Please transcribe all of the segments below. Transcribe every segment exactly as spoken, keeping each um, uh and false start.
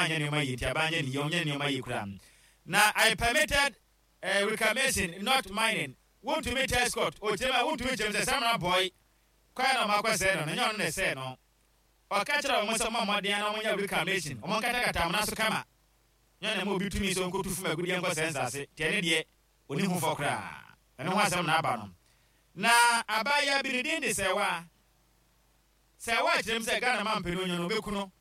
Anyɛ nneɛma yie nti aban nyɛ ne yie, ɔnyɛ nneɛma yie koraa. Na "I permitted uh, reclamation, not mining." Wontumi tell Scott ɔkyerɛ mu a wontumi kyerɛ mu sɛ Samreboi kwan na ɔmo akɔ sɛɛ no, na nyɛ ɔno na ɛsɛɛ no. Ɔka kyerɛ wɔn sɛ ɔmo mmɔden na ɔmo nyɛ reclamation, ɔmo nkatakata amena so kama. Nyɛ na ma obi tumi sɛ ɔnkɔtu fam agudeɛ nkɔ sɛɛ nsase tiɛ ne deɛ ɔni ho fɔ koraa. Ɛno ho asɛm na aba no. Na abaayewa bi ne din de Sɛwa. Sɛwa kyerɛ mu sɛ Ghana ma mpanin onyo no ɔbɛku no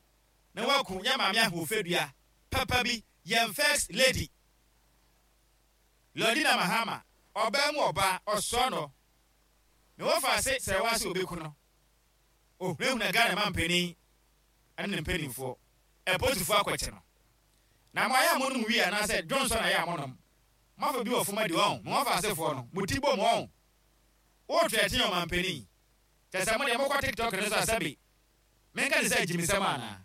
na waku yɛ maame ahoɔfɛdua papa bi, yɛn First Lady Lordina Mahama. Ɔbaa mu ɔbaa ɔsɔ no na wɔfa ase Sɛwa sɛ ɔbɛku no, ohunahuna Ghana ma mpanin ɛne ne mpanimfoɔ, ɛpolisifoɔ akɔkyɛ no. Na mo ayɛ a monom wie anaasɛ dwonsɔ na ayɛ a monom moafa bi wɔ fam adi wɔn mo wɔfa asefoɔ no mo ti bom wɔn wotwerɛ ɔma mpanin kyɛ sɛ mo deɛ mokɔ TikTok no so a, sɛbe menka ne sɛ agyimisɛm anaa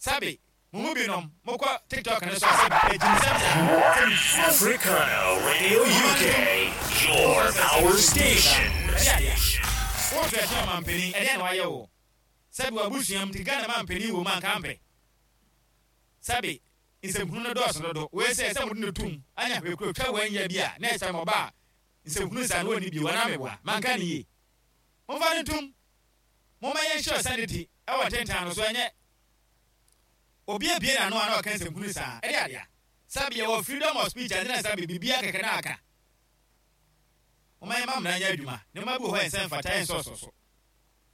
sɛbe mo mu binom mokɔ TikTok no so a, sɛbe agyimisɛm saa. Africana Radio U K, your power station. Wotwerɛ ɔma mpanin, ɛdeɛ na wayɛ wo? Sɛbe wabusuam nti Ghana ma mpanin wɔ mu anka mpɛ sɛbe nsɛmhunu no dɔɔso dodo. Wei sɛ sɛ mode no tum anya hwɛ kuro twa wanya bi a na ɛsɛ mɔba a nsɛmhunu sa no wɔnni bio anaa meboa manka ne yie. Momfa no ntom, momma yɛnhyɛ sanity ɛwɔ tentan no so. Ɛnyɛ obi abie n'ano a na ɔka nsɛmhunu saa. Ɛde adea sɛbe yɛwɔ freedom of speech ɛne na sɛbe biribia kɛkɛ na aka. Momma yɛma mmara nyɛ adwuma. Nneɛma bi wɔ hɔ a ɛnsɛ mfata, ɛnsɛ so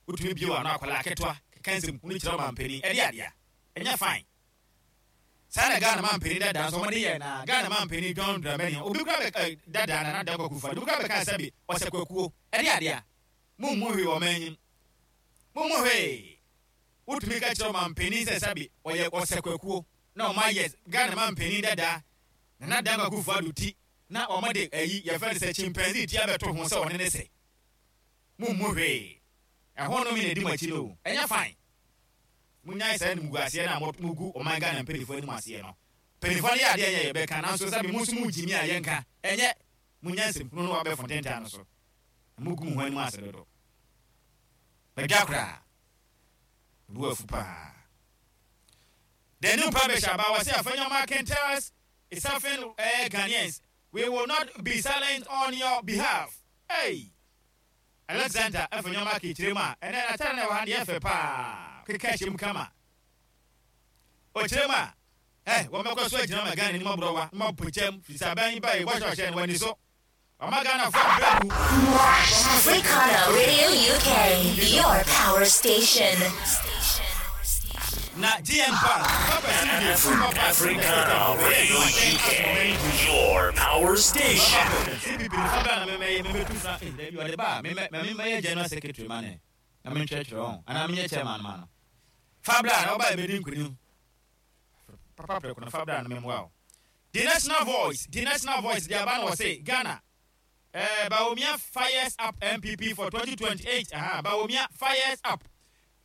wotumi bie wɔ ano. Akwadaa ketewa keka nsɛmhunu kyerɛ ɔmampanin, ɛde adea ɛnyɛ fine saa. Na Ghana ma mpanin dada nso ɔmɔde yɛ na Ghana ma mpanin John Dramani obi kura bɛ ɛ dada na Nana Kwaku fa obi kura bɛka sɛbi ɔsɛ kwakuo. Ɛde adea mo mu hwee wɔ ɔman anim, mo mu hwee. Wotumi ka kyerɛ ɔma mpanin sɛ sɛbi ɔyɛ ɔsɛ kwakuo na ɔmo ayɛ Ghana ma mpanin dada Nana Dan Kwaku fa do ti na ɔmo de ɛyi yɛfrɛ no sɛ chimpanzee ti abɛto ho sɛ ɔne ne sɛ mo mu hwee. Ɛho no mi na edi mo akyi no, ɛnyɛ fine. Munyae saa animguaseɛ no a mugu ɔman Ghana mpanimfoɔ anim aseɛ no. Mpanimfoɔ no yɛ adeɛ nyɛ yɛbɛka, nanso sɛbi mo nso mo gyimi a yɛnka ɛnyɛ munya nsɛmhunu no wabɛfo ntentan no so na mugu mo ho anim ase dodo. Badwa koraa bu afu paa. The new publisher ba wɔ sɛ Afenyo Markin tells suffering uh, Ghanaians, "We will not be silent on your behalf." Hey! Alexander Afenyo Markin kyerɛ mu a ɛnɛ n'atare na ɛwɔ ha deɛ ɛfɛ paa keka hyɛ mu kama. Ɔkyerɛ mu a ɛ wɔmɛkɔ so agyina ma Ghana anim aborɔwa na mabɔ kyɛm firi sɛ aban yi ba yi bɔhyɛ ɔhyɛ no wani so ɔma Ghanafoɔ brɛ gu. Africana Radio U K, your power station. Na G N Bank papa Africana Radio U K, your power station. C P P nifa bra na mɛmɛyɛ mɛmɛtu fra eh dabi ɔde ba mɛmɛ mɛmɛyɛ general secretary ma ne na mentwerɛtwerɛ wɔn anaa menyɛ chairman ma no. Fa bra na ɔba ɛbɛdi nkunim papa prɛko no. Fa bra na mɛmmoa wo. The National Voice, The National Voice de aba na wɔse Ghana eh, Bawumia fires up N P P for twenty twenty-eight. Aha, Bawumia fires up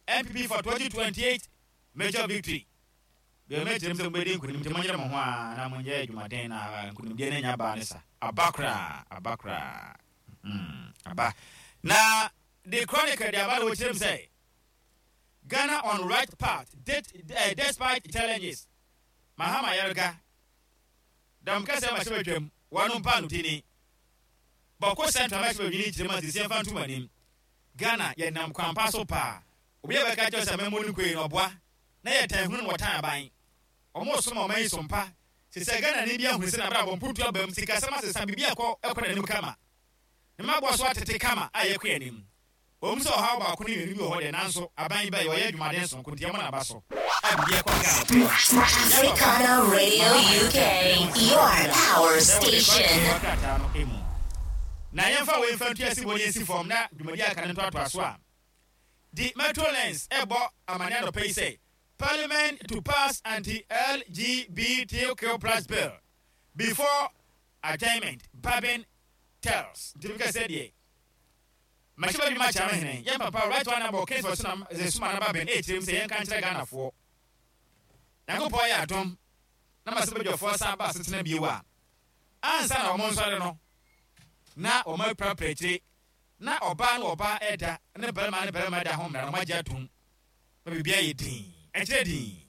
N P P for twenty twenty-eight major victory. Deɛ mɛkyerɛ m sɛ mobɛdi nkonim nti monyere mo ho a na monyɛ adwumaden na nkonimdeɛ no anya baa ne sa aba koraa, aba koraa. Mm, aba. Na The Chronicle de aba na wɔkyerɛ m sɛ Ghana on right path det, uh, despite challenges. Mahama Ayariga dam kɛsɛ ma hyɛ badwam wɔno mpa no tini Bawku Central ma hyɛ badwini kyerɛ mu a sisi yɛmfa ntom anim. Ghana yɛnam kwampa so paa. Obi a bɛka kyerɛ sɛ mɛmmɔ no kue no ɔboa na yɛtan hunu no wɔtan aban ɔmo som a ɔman yi so mpa sisɛ Ghana ni bi ahunu sɛ nabrabɔ mputu aba mu, sikasɛm asesa, biribi akɔ ɛkɔ n'anim kama ne mmaboa so atete kama a yɛkɔ anim. Wɔn sɛ ɔhaw baako ne mmienu bi wɔ hɔ deɛ, nanso aban yi ba yi ɔyɛ adwumaden sonko nti ɛmɔ n'aba so a biribi ɛkɔ Ghana. Africana Radio U K, your power station. Krataa no emu na yɛmfa wei mfa ntua si bɔ ne yɛsi fam na dwumadi aka no ntoatoa so a The Metro Lens ɛbɔ amane anɔpa yi sɛ Parliament to pass anti-L G B T Q plus bill before adjournment, Bagbin tells. Nti bi kɛ deɛ mahyɛ baabi ma kyerɛ hene yɛn papa Right Honourable Kingsford Sunam Sumana Bagbin ɛkyerɛ mu sɛ yɛnka nkyerɛ Ghanafoɔ, Nyankopɔn yɛ adom na ma sɛ badwafoɔ san ba asetena bio a, ansa na wɔn nsɔre no na wɔn apirapira akyire na ɔbaa ne ɔbaa ɛda ne barima ne barima da ho mmara no wɔn agye atom na biribi ayɛ din ɛkyerɛ din.